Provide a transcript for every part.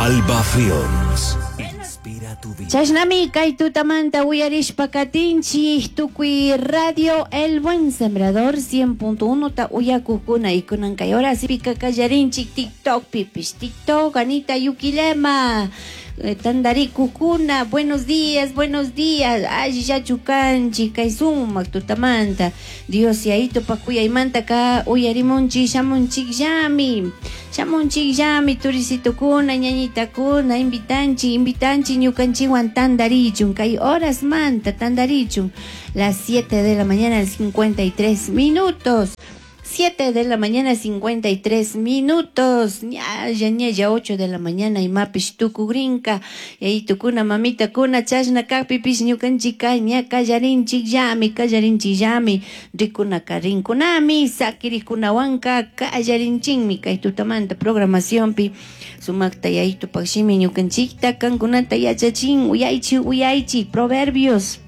Alba Films. Inspira tu vida. Chashnami kay tutamanta uyarishpa katinchik tukuy radio El Buen Sembrador 100.1 ta uyakukuna y kunan kay horas pika kallarinchik TikTok pipish TikTok Anita Yuquilema tandarikukuna buenos días, buenos días, allillachu kanchik kay sumak tutamanta Dios yayito pakuyaymanta ka uyarimunchik shamunchikllami shamunchikllami turisitukuna ñañitakuna invitanchik invitanchik ñukanchikwan tandarichun kay horasmanta tandarichun las 7 de la mañana 53 minutos. 7 de la mañana 53 minutos. Ñalla, ñalla 8 de la mañana imapish tukugrinka. Yayitukuna mamitakuna chashna kakpipish ñukanchika ña kallarinchikllami kallarinchikllami rikunaka rinkunami sakirikunawanka kallarinchikmi kay tutamanta programacionpi sumakta yayitupak shimi ñukanchikta kankunata yachachin uyaychik uyaychik Proverbios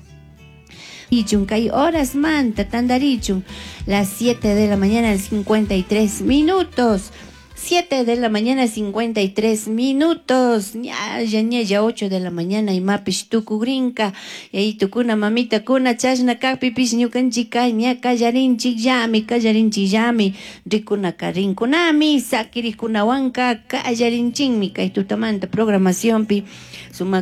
kay horasmanta tandarichun las 7 de la mañana 53 minutos. 7 de la mañana 53 minutos. Ñalla, ñalla 8 de la mañana imapish tukugrinka. Yayitukuna mamitakuna chashna kakpipish ñukanchika ña kallarinchikllami kallarinchikllami rikunaka rinkunami sakirikunawanka kallarinchikmi kay tutamanta programacionpi sumak.